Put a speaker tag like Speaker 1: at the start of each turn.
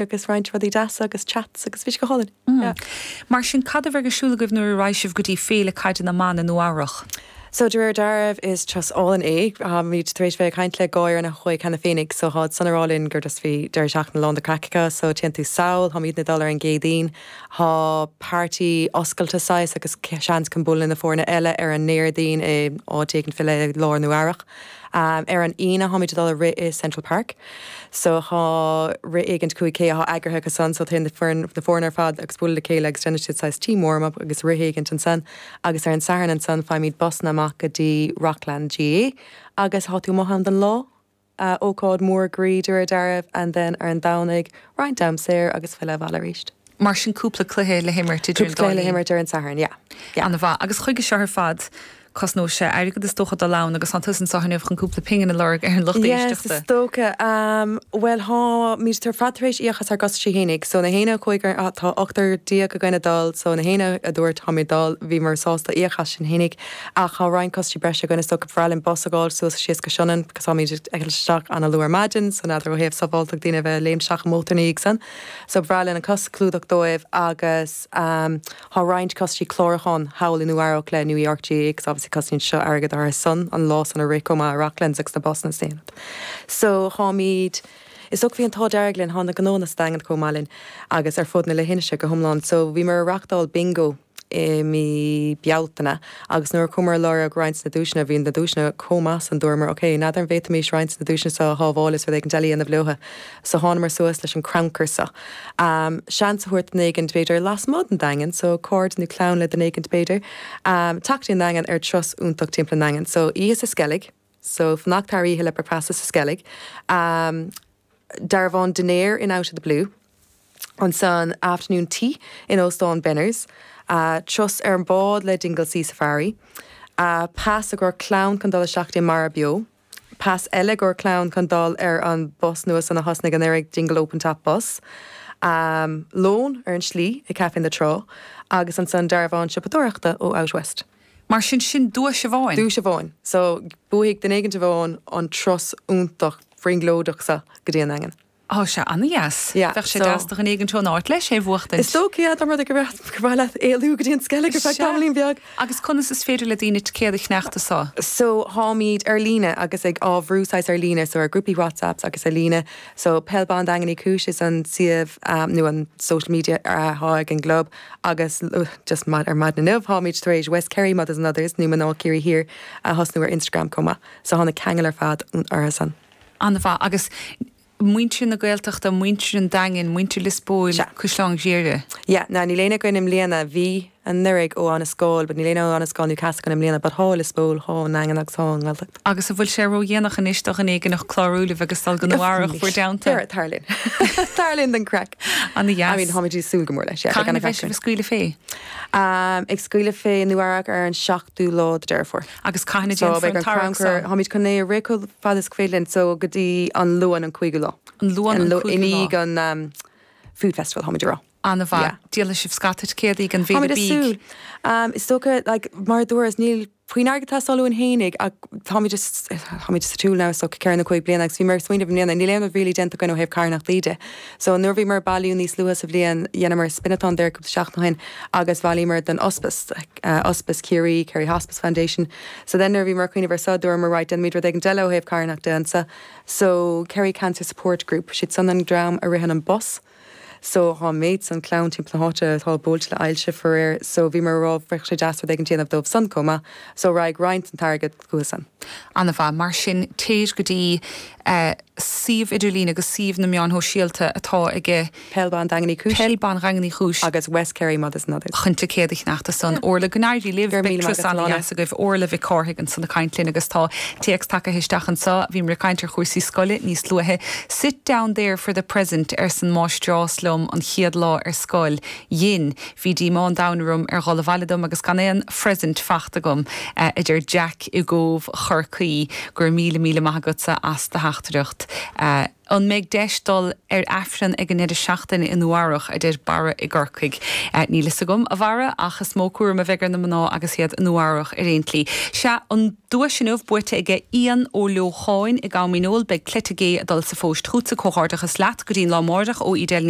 Speaker 1: Agus roinnt rudaí deasa agus chats agus bhí sé go hálainn. Yeah.
Speaker 2: Mar sin, cad a bheidh ar siúl agaibh nuair a raghaidh sibh go dtí Féile Caide na mBan i Nua Eabhrach?
Speaker 1: So, de réir dealraimh, is turas álainn é. Táimid tar éis bheith ag caint le dhá fhoireann a chuaigh cheana féinig, so tháid san ag rá linn gur just bhí deireadh seachtaine lán de craic acu, so téann tú sall, táimidne ag dul ar an gCéadaoin, thá party oscailte saghas agus seans chun bualadh le na foirne eile ar an nDéardaoin i áit éigint faoi leith i lár Nua Eabhrach. Ar an Aoine tháimid ag dul a rith i Central Park. So thá rith éigint 5K athá eagraithe acu san so téann na foireann na foirne ar fad agus bualadh le chéile agus déanann siad saghas team warm up agus rith éigint ansan agus ar an Satharn ansan faighimid busanna amach go dtí Rockland GAA agus thá tú amuigh ann don lá, ócáid mór groí de réir dealraimh and then ar an Domhnaigh roinnt am saor agus filleadh abhaile arís.
Speaker 2: Mar sin cúpla cluiche le himirt idir an
Speaker 1: dá linn. Cúpla cluiche le himirt ar an Satharn, yeah.
Speaker 2: Yeah. An-mhaith. Agus chuige seo ar fad, cosnóidh sé airgead is dócha dul ann agus tánn tusa anseo inniu chun cúpla pingin a lorg ar an lucht
Speaker 1: Yes,
Speaker 2: éisteachta.
Speaker 1: is dócha. Bhuel, tháimid ar fad tar éis íoc as ár gcostaisí fhéinig. So na héinne a chuaigh ar, tá ochtar déag againn ag dul, so na héinne a dúirt táimid ag dul, bhíomar sásta íoc as sin fhéinig. Ach tá roinnt costaisí breise againn is dócha. Ba bhreá linn bus a fháil suas is síos go Sionainn, because táimid ag eitilt isteach ana-luath ar maidin, so n'fheadar ó thaobh sábháilteacht daoine a bheith ag léimt isteach i mótar ina dhiaidh san. So ba bhreá linn an costas a chlúdach dóibh agus thá roinnt costaisí clárúcháin thall i Nua Eabhrac le New York GAA agus obviously cosnaíonn seo airgead orthu san an lá san a rith chomh maith i Rocklands agus na busanna is aon rud. So tháimid, is dócha bhí an t-ádh dearg linn, thá na gnóanna sa Daingean chomh maith linn agus ar fud na leithinise go hiomlán. So bhíomar ag reachtáil bingo i mí Bealtaine agus nuair a chuamar ag lorg roinnt na duaiseanna, bhí na duaiseanna chomh maith san, dúramar ok, n'fheadar an bhféadfaimis roinnt na duaiseanna seo a shábháil is rud éigin eile a dhéanamh leotha. So thánamar suas leis an crannchur seo. Seans a thabhairt duine éigint b'fhéidir lasmuigh den Daingean, so cairde nó clann le duine éigint b'fhéidir, teacht dtí an Daingean ar turas iontach timpeall an Daingin. So oíche sa Sceilg, so fanacht thar oíche le bricfeasta sa Sceilg. Dearbhán dinnéir in Out of the Blue. Ansan afternoon tea in Óstán Benners. Turas ar an bád le Dingle Sea Safari. Pas i gcomhair clann chun dul isteach dtí Mara Beo. Pas eile i gcomhair clann chun dul ar an bus nua san a thosnaigh anuraidh, Dingle Open Top Bus. Lón ar an slí i Café na Trá agus ansan dearbhán siopadóireachta ó Out West.
Speaker 2: Mar sin, sin duais amháin.
Speaker 1: Duais amháin. So, buafaidh duine éigint amháin an turas iontach brionglóideach seo go dtí an Daingean.
Speaker 2: Tá sé ana-dheas.
Speaker 1: Yeah,
Speaker 2: Bheadh sé deas do dhuine éigint ón áit leis é a bhuachtaint.
Speaker 1: Is dócha, yeah, dá mba rud é go gur mhaith leat éalú go dtí an Sceilg ar feadh tamaillín beag.
Speaker 2: Agus conas is féidir le daoine ticéad a cheannacht do seo?
Speaker 1: So, tháimid ar líne agus ag á bhrú saghas ar líne, so ar grúpaí WhatsApps agus ar líne. So, Peil Ban Daingean Uí Chúis is an suíomh nó an social media athá ag an gclub agus just ar maidin inniu tháimid tar éis West Kerry Mothers and Others nó Mná Ciarraí Thiar a thosnú ar Instagram chomh maith. So, thá na ceangail ar fad orthu san.
Speaker 2: An-mhaith. Agus muintir na Gaeltachta, muintir an Daingin, muintir Lios Póil,
Speaker 1: Sea.
Speaker 2: Caisleán Ghriaire.
Speaker 1: Yeah, now níl éinne againn i mbliana, bhí anuraidh ó Abhainn an Scáil, but níl éinne ó Abhainn an Scáil Newcastle againn i mbliana, but thá Lios Póil, thá an nDaingean agus thá an nGaeltacht.
Speaker 2: Agus an bhfuil sé ró-dhéanach anois do dhuine éigin clárú libh agus dul go Nua Eabhrach bhur dteannta?
Speaker 1: Tar, tar linn. Tar linn don craic.
Speaker 2: Ana-dheas.
Speaker 1: I mean, táimid ag súil go mór leis, yeah.
Speaker 2: Cathain a bheidh sibh ag scaoileadh fé?
Speaker 1: Um, ag scaoileadh fé Nua Eabhrac ar an 7ú lá de Deireadh Fómhair.
Speaker 2: Agus cathain a déanfar an tarrac
Speaker 1: so? Táimid chun é a rith chomh fada is féidir linn, so go dtí an Luan an 5ú lá.
Speaker 2: An Luan an 5ú lá.
Speaker 1: I ndiaidh an Food Festival, táimid ag rá.
Speaker 2: An-mhaith. Díolfaidh sibh scata ticéadaí gan mhéad
Speaker 1: Táimid ag súil. Is dócha, like, mar a dúras, níl puinn airgead ag teastáil uainn fhéinig ach táimid just, táimid sa tsiúl now is dócha ceithre nó cúig bliana agus bhíomar ag smaoineamh i mbliana, níl aon rud really déanta againn ó thaobh carthanachtaí de. So nuair a bhíomar ag bailiú níos luaithe sa bhliain, dheineamar spin-a-thon there cúpla seachtain ó shin agus bhailíomar don Ospis, Ospis Chiarraí, Kerry Hospice Foundation. So then nuair a bhíomar ag cuimhneamh ar seo, dúramar right, déanfaimid rud éigin eile ó thaobh carthanachta anseo. So Kerry Cancer Support Group, siad san an dream a ritheann an bus. So thá an méid san clann timpeall na háite atá buailte le ailse faraor, so bhíomar ag rá bheadh sé deas rud éigin déanamh dóibh san chomh maith. So raghaidh roinnt den t-airgead chucu san.
Speaker 2: An-mhaith. Mar sin, téir go dtí suíomh idirlín agus suíomh na meáin shóisialta atá aige.
Speaker 1: Peil Ban Daingean Uí Chúis.
Speaker 2: Peil Ban Dhaingean Uí Chúis.
Speaker 1: Agus West Kerry Mothers and Others.
Speaker 2: Chun ticéad a cheannacht do san. Orla, go n-éirí libh.
Speaker 1: Go raibh
Speaker 2: Beidh
Speaker 1: míle maith
Speaker 2: turas
Speaker 1: agat, Alana.
Speaker 2: an-dheas agaibh. Orla Mhic Cárthaigh ansan ag caint linn agus tá téacs tagaithe isteach anseo. Bhíomar ag caint ar chúrsaí scoile níos luaithe. Sit down there for the present, arsa an mháistreás liom. liom an chéad lá ar scoil. Dhein. Bhí díomá an domhain orm ar dhul abhaile dom agus gan aon phresent fachta agam, a deir Jack i gCóbh Chorcaí. Go raibh míle míle maith agatsa as do theachtaireacht. An mbeidh deis dul ar Aifreann ag an ndeireadh seachtaine i nDún Earrach, a deir Barra i gCorcaigh. Níl fhios agam, a Bharra, ach is mó cúram a bheidh ar na mná agus iad i Nua Eabhrach ar aon tslí. Sea, an duais inniu buaite aige Ian Ó Leocháin i gCam Fhíneoil. Beidh cleite gé ag dul sa phóist chughatsa. Comhghairdeachas leat. Go dtí an lá amáireach ó Edel Ní.